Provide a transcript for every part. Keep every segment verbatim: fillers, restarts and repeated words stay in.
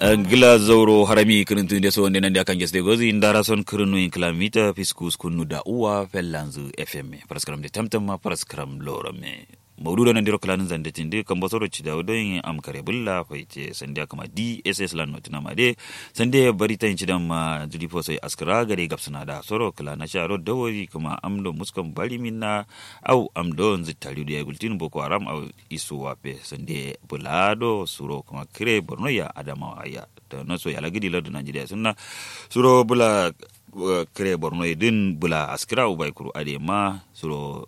Ngla zauro harami kǝrǝntǝ nde so wande nande akan geste gozi ndara son kǝrǝnu in kǝlamita fiskus kunnu da uwa fellanzǝ fm. Faraskaram de tamtam ma faraskaram lorome. Maudu do nandiro kǝlanǝn zande tindi kambo soro cidawu don am kare bulla faite sande akama dss lan notuna ma de. Sande bari tayin cidan ma juli fosoi askara gade gabsuna da soro kǝla na sharo dawori kǝma amdo muskon bari minna. Au amdo nzǝ tari do ya gultin boko haram au isu wafe sande bula do suro kǝma kǝre borno ya adamawa ya. Tano so yala gidi lardu najeriya sunna suro bula kǝre borno ye dǝn bula askǝra ubai kuru ade ma suro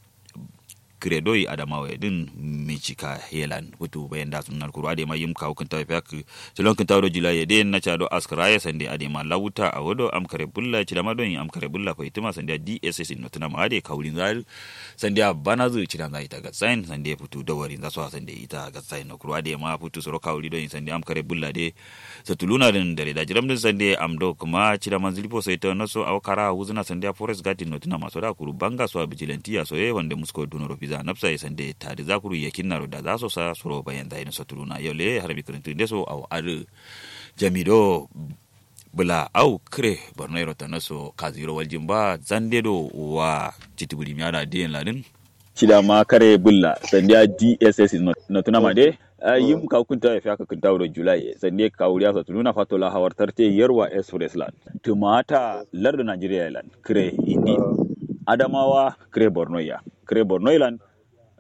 kǝre doi adamawa ye dǝn. Micika yelan futu bayan da sunna kuru ade ma yim kawu kǝntawu fiya kǝ. Cilon kǝntawu do jula ye dǝn na ca do askǝra ye sande ade ma lawuta awo do am kare bulla cida ma don am kare bulla faitǝma sande dss notǝna ma ade kawurin za dǝ. Sande a bana zǝ cidan za ita gatsayin sande futu dawari za so a sande ita gatsayin no kuru ade ma futu suro kawuri don sande am kare bulla de. Satuluna dǝn dare da jiram dǝn sande am do kǝma cida manzǝ lipo so ita naso awo kara wuzǝna sande a forest garden notǝna ma so da kuru banga so a bijilantiya so ye wande musko dunoro fiza nafsa ye sande tadǝ za kuru yakin naro da za so sa suro bayan za ye dǝn satuluna yau le harami kǝrǝntǝ nde so awo adǝ. Jami do bula au kǝre borno yero tano so kaziro waljin ba zande do wa citibuli miya da diyen ladin. Cida ma kare bulla sande a dss notǝna ma de. Yim kawu kǝntawu ye fiya kǝ kǝntawu do julai ye sande kawuriya so tuluna fato la hawar tarte yerwa express lan tǝmata lardu najeriya ye lan kǝre indi adamawa kǝre borno ya kǝre borno ye lan.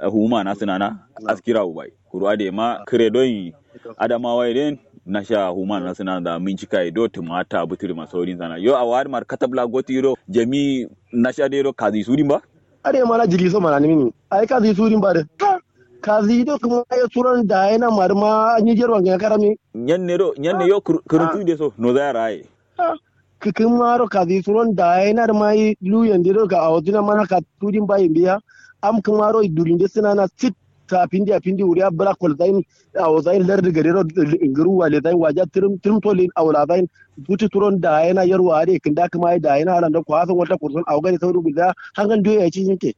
Huma na sǝnana askira ubai kuru ade ma kǝre don adamawa ye den nasha huma na sǝnana da mincika ye do tǝmata buturi ma saurin sana yo awa adǝ mar katab la goti do jami nasha de do kazi sudin ba. Ade ma na jili so manani mini ai kazi sudin ba de. Kazi do kǝma ye suron da ye na mari ma nyi jerwa ngana karami. Nyanne do nyanne yo kǝrǝntu de so no zaya raye. Kǝkǝmaro kazi suron da ye na dǝma yi luyen de do ka awozina mana ka tudin ba yimbiya. Am kǝmaro dulinde sǝnana sit. Sa pindi a pindi wuriya bǝla kolzain awozain lardǝ gadero. Ngǝruwa lezain waja tǝrǝm tǝrǝm tolin awolazain. Futu suron da ye na yerwa ade kǝnda kǝma ye da ye na alando kwason walta kurson awo gade sauri gulza hangal duye ya ci yinte.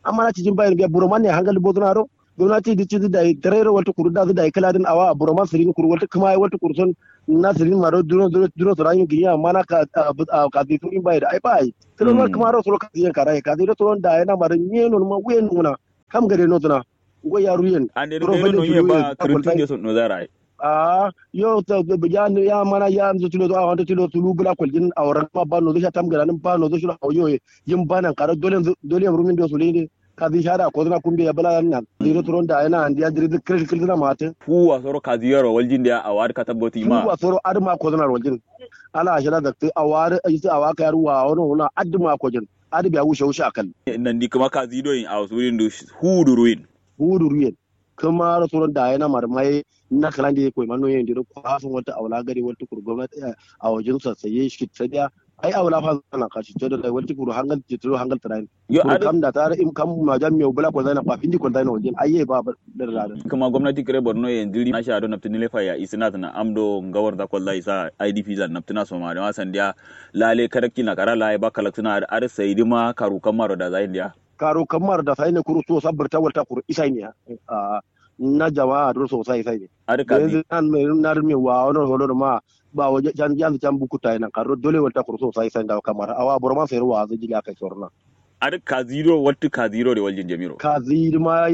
Amma na cijin bayin biya buroman ne hangal bozuna ro. Gomnati dǝ cizǝ dayi tarairo waltǝ kuru dazǝ dayi kǝladǝn awa buroman sǝrin kuru waltǝ kǝma ye waltǝ kuru son. Na sǝrin maro duro duro sǝrayin gǝyi amma na kazi surin bayi da ai bayi. Sǝrin ma kǝmaro suro kazi yen karaye kazi do suron da ye na maro nyenon ma wuyen nuna. Kam gade nozuna. Ngo yaru yen. Ande do no ye ba kǝrǝntǝ nde so nozara ai. Aa yo ya mana ya nzo tilo zo awanta tilo sulu bula koljin awo ranma ba nozo sha tam galanin ba nozo shiro awo yo ye. Yim ba nan karo dole yam rumin do sulu inde. Kazi shada kozuna kumbe ya bula nan ziro turon da yana andi ya diri kil kil zuna mate. Fuwa soro kazi yaro waljin da awo adǝ katab goti ma fuwa soro adǝ ma kozuna waljin. Ala ashira zakti awo adǝ isi awo aka yaru wa awo no wuna adǝ ma kojin. Adǝ biya wushe wushe akal. Nandi kǝma kazi doyin awo surin du. Hudu ruyin. Hudu ruyin. Kǝmaro suron da ye na mari maye. Na kǝlande ye koyi ma noyen diro kwason waltǝ awo la gade waltǝ kuru gomnati. Awo jin sassaye shit sadiya. Ai awo la fa zana ka shit sadiya waltǝ kuru hangal jitiro hangal tǝrayin. Yo kuru adǝ kam da tara im kam maja miyau bula kwalzaina ba findi kwalzaina waljin ai ye ba. Dǝrra dǝ kǝma gomnati kǝre borno ye ndiri na sha do naptǝ nilefa ya isǝna tǝna am do ngawar za kwalza isa idp zan naptǝna soma dǝma sandiya. Lale karakki na kara laye ba kalaktǝna adǝ adǝ saidǝma karu kammaro da zayin diya. Karo kammaro da saine kuru so sabbirta walta kuru isaine. Ahh. Na jama'a duro so sai saine. Adǝ kazi. Yanzu nan me nan me wa wani holo ma. Ba waje can yanzu can bukuta ina karo dole walta kuru so sai sai da kammaro awa boro man sai ruwa zai jili aka sorna. Adǝ kazi do waltǝ kazi do de waljin jamiro kazi ma.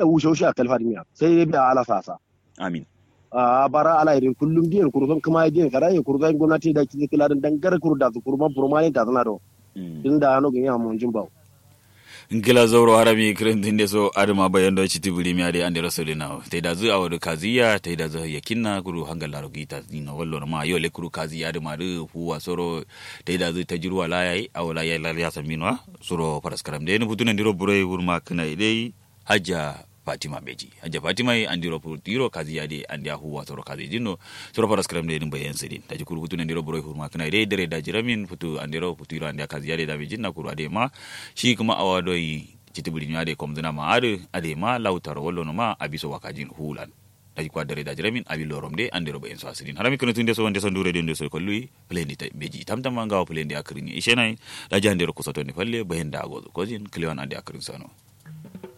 Wushe wushe a kalfa dimiya sai dai biya ala sasa. Amin. Ahh bara ala idin kullum diyen kuru son kǝma ye diyen kara ye kuru son gomnati da kizi kǝla dǝn dangar kuru da su kuru ma buro ma ne da zǝna do. Dǝn da ano gǝnyi a monjin bawo. Ngla zauro harami kǝrǝntǝ nde so adǝma bayan do citi bǝrimiya dai andero sodǝ nawo taidazǝ awo dǝ kaziya taidazǝ yakinna kuru hangal laro gǝyi tazǝ dino wallo noma yo le kuru kaziya dǝma dǝ fuwa soro. Taidazǝ tajirwa la yayi awo la yayi la yayi samminwa. Suro faraskaram dai nǝ futu nandiro buroi wurma kǝnai dai. Hajja fatima beji hajja fatima ye andiro pur tiro kazi yade andiya huwa soro kazi jinno. Soro faras karam de din bayan sidin daji kuru futu nandiro buroi hurma kǝna de dare daji ramin futu andiro futu iro andiya kazi yade da bejin na kuru ade ma. Shi kǝma awa doi citi buri nyade komzina ma adǝ ade ma lautaro wallo no ma abiso wakajin hulan. Daji kwa dare daji ramin abi lorom de andiro bayan so asidin harami kǝna tun de so wande so ndure de so kollu. Plendi ta beji tamtam ma ngawo plendi akrin ishenai. Daji andiro kusoto ni falle bayan da agozo kozin klewan ande akrin sano.